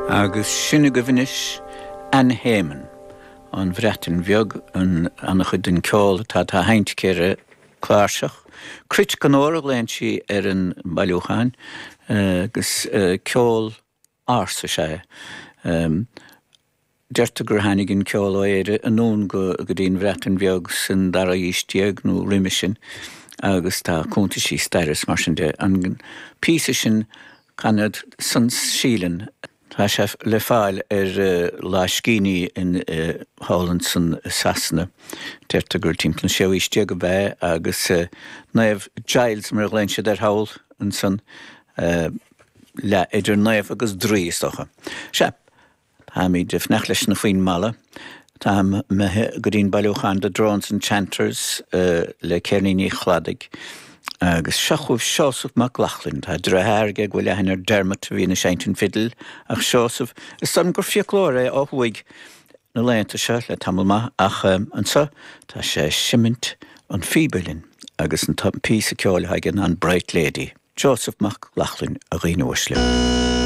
Agus sin agaibh anois Ann Hayman, ón Bhreatain Bheag, an-chuid den ceol atá á sheinnt aici ar an cláirseach. Cruit den ór a ghlaonn sí ar an mbailiúchán agus ceol ársa is ea é. Deirtear gur tháinig an ceol ó Éire anonn go dtí an Bhreatain Bheag san dara haois déag nó roimhe sin agus tá cuntaisí staire is mar sin de. An píosa sin, Canad San Silen, tá sé le fáil ar lámhscríbhinní in thall ansan i Sasana. Deirtear gur timpeall an séú haois déag ab ea é agus Naomh Giles mar a ghlaonn siad air thall ansan, leath idir naomh agus draoi is dócha. Sea. Táimid ag fanacht leis na Foinn Mhalla. Táim imithe go dtí'n bailiúchán The Drones and Chanters le Ceirníní Chladaigh. Agus seo chugaibh Seosamh Mac Lochlainn. Tá deartháir aige go bhfuil aithne air Dermot a bhíonn ag seinnt an fidil ach Seosamh, is dóigh liom gur fiaclóir é ó thuaidh na laethanta seo le tamall maith ach anseo tá sé ag seimint an phíbe linn agus an píosa ceoil atá aige ná an Bright Lady. Seosamh Mac Lochlainn, a dhaoine uaisle.